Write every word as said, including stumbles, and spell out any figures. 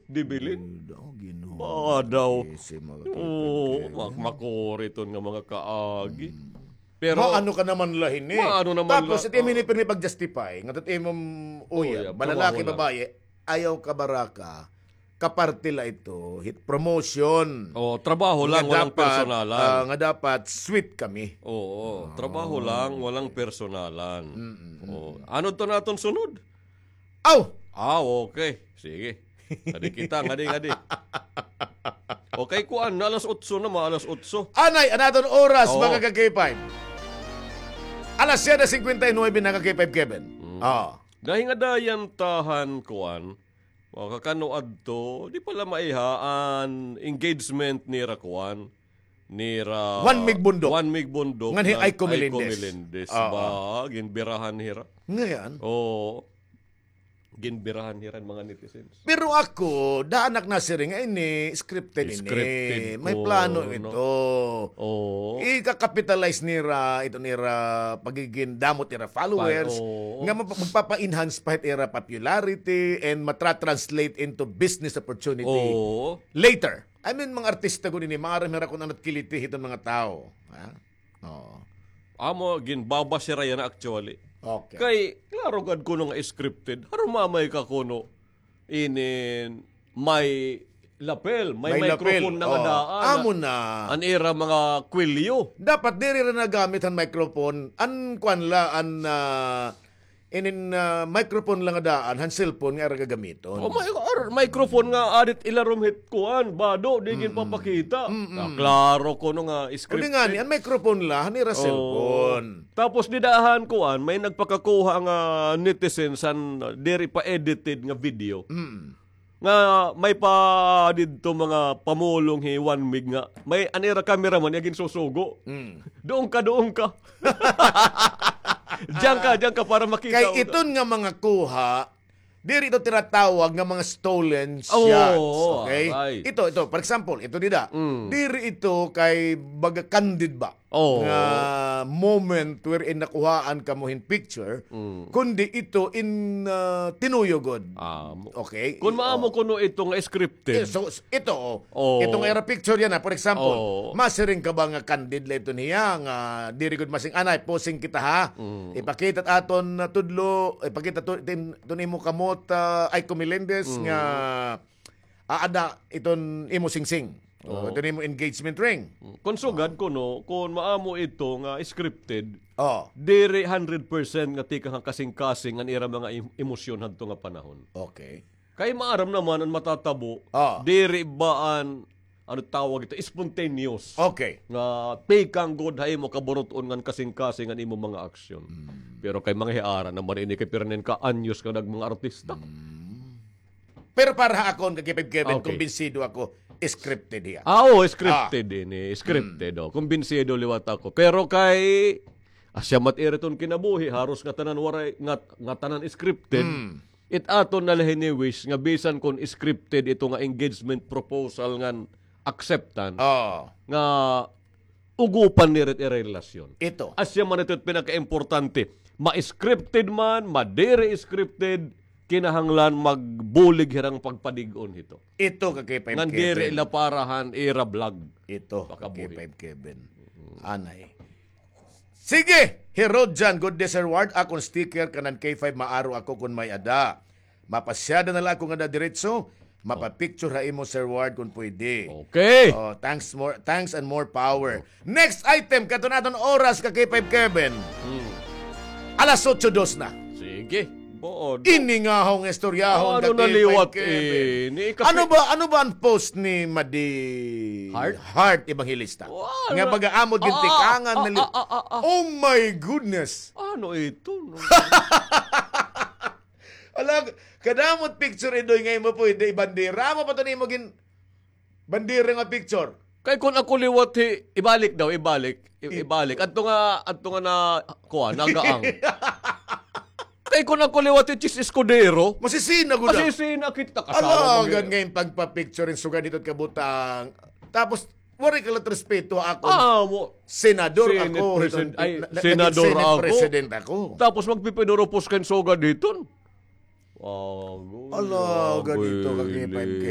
Dibilin? Ay, daw, Ginoo. Ba daw? Isi mga Oo, kaibigan. mak-, makuri iton nga mga kaagi. Mm. Pero Maano ka naman la hini? Maano naman Tapos, la, ito yung oh. hini pirmi pag-justify. Nga ito yung imong, Oh, uy, yeah, balalaki, trabaho lang. babae, ayaw ka baraka, kaparte la ito, hit promotion. Oh, trabaho lang, Nga walang dapat, personalan. ah, nga dapat sweet kami. Oo, trabaho Oh, lang, walang okay. personalan. Mm, mm, Oh, mm. ano to naton sunod? Aw! Ah, okay. Sige. Ngadi kita, ngadi, ngadi. Okay, kuan, alas otso na, mga alas otso. Anay, an aton oras, Oo. mga ka-K five. Alas siyete cincuenta y nueve na, ka-K five Kevin. Mm. Ah. Dahil nga dayan tahan, kuan, o, kakano adto, di pala maiha an engagement nira, kuan, nira Juan Mig Bundok. Juan Mig Bundok Ngan hi ngan Aiko Aiko Melendez. Melendez. Oo. Ba, ginbirahan hira. Ngayon? Oo. Ginbirahan hira an mga netizens. Pero ako, daan ak nasiring nga ini, scripted ini. Scripted May ko, plano no? ito. Oo. Ika-capitalize nira, ito nira, pagiging damot nira followers, Pa-, oo. nga map-, magpapa-enhance pa hit ira popularity and matra-translate into business opportunity Oo. later. I mean, mga artista gud ini, maaram hira kun ano it kiliti hiton mga tawo. Ha? Oo. Amo, ginbabas hira yana actually. Okay. Kay, klaro gad kuno nga scripted. Harumamay ka kuno, inin may lapel, may May lapel. microphone na nga Oo. daan. Amo na. An ira mga kwelyo. Dapat diri ra nagamit an microphone. An kwan la, an, ah, inin, ah, microphone la nga daan, han cellphone nga ira gagamiton. Oh, may, or microphone nga adit ilarom hit kuan, bado, di Mm-mm. ginpapakita. Mm-mm. Ah, klaro kuno nga Uli nga scripted. ni, an microphone la, han ira Oh. cellphone. Tapos dida han kuan, may nagpakakuha nga netizens han, ah, diri pa edited nga video. Mm. Nga may pa didto mga pamulong hi Juan Mig nga may an ira cameraman iya ginsusugo. Mm. Duon ka, duon ka. Diyan ka, diyan ka para makita Kay mo. iton nga mga kuha, diri ito tinatawag nga mga stolen Oo, shots, okay? aray. Ito, ito, for example, ito dida. Mm. Diri ito kay baga candid ba? Oo. Nga moment wherein nakuhaan kamo hin picture, Mm. kundi ito in, ah, tinuyo gud. Ah, mo- Okay? Kun maamo Oo. kuno ito nga scripted. Eh, so, s-, ito, oh. Oo. Ito nga ira picture yana, for example, Oo. masiring ka ba nga candid la ito niya, nga diri gud masing-anay, posing kita ha. Mm. Ipakita it aton, ah, tudlo, ipakita to, iton, iton imo kamot, ah, Aiko Melendez Mm. nga aada iton imo singsing. O, Oo. iton imo engagement ring. Mm. Kon sugad kuno, kon maamo ito nga scripted, Oo. diri hundred percent nga tikang ha kasingkasing an ira mga em-, emosyon hadto nga panahon. Okay. Kay maaram naman an matatabo, Oo. diri ba an, ano tawag ito, spontaneous. Okay. Nga tikang gud ha imo kaburut-on ngan kasingkasing an imo mga aksyon. Mm. Pero kay mga hiara naman ini kay pirnen ka anyos nga nag mga artista. Mm. Pero para ha akon, ka-K five Kevin, Okay. kumbinsido ako, scripted hiya. Ah, oo, scripted Ah. ini, scripted, Mm. oh. Kumbinsido liwat ako. Pero kay, asya mat iri iton kinabuhi, haros nga tanan waray, nga, nga tanan scripted. Mm. It aton na la hini wish nga bisan kon scripted ito nga engagement proposal ngan acceptance, Oo. nga ugupan nira it ira relasyon. Ito. Asya man ito it pinakaimportante. Ma-scripted man, madiri scripted, kinahanglan magbulig hira nga pagpadig-on hito. Ito, ka-K five Ngan diri Kevin. la para han ira vlog. Ito, Pakabuhi. ka-K five Kevin. Mm. Anay. Sige, hi Rodjan, good day, Sir Ward. Akon sticker kanan K five, maaro ako kon may-ada. Mapasyada na la ako ngada diretso, mapapicture ha imo, Sir Ward, kon pwede. Okay. Oh, thanks more, thanks and more power. Next item, kato naton oras, ka-K five Kevin. Hmm. Alas otso dos na. Sige. Buod. Ini nga hong istoryahon, Ano ka-K five naliwat, Kevin. eh, ni kasi Ano ba, ano ba an post ni Madi Heart? Heart Evangelista? Wala. Nga baga amo Ah, gintikangan ah, na li- ah, ah, ah, ah. Oh my goodness. Ano ito, no? Ala, kadamot picture, Idoy, nga imo pwede ibandera. Amo pa to nimo gin-, bandera nga picture. Kay kun ako liwat hi, ibalik daw, ibalik. I-, I- ibalik. Adto nga, adto nga na, kuan, nagaang. Kay kun ako liwat hi Chiz Escudero. Masisina gud. Masisina kita kasama Ala, mo gud. Gan ngayon pagpa-picture in sugad dito kabutang. Tapos, waray ka lang respeto ako. Ah, mo. Senador Senate ako, president, itong ay, na-, naging senador Senate ako. president ako. Tapos magpipinuropos ka in sugad hiton. Agoy, Ala, agoy, ganito, kagipad, lili.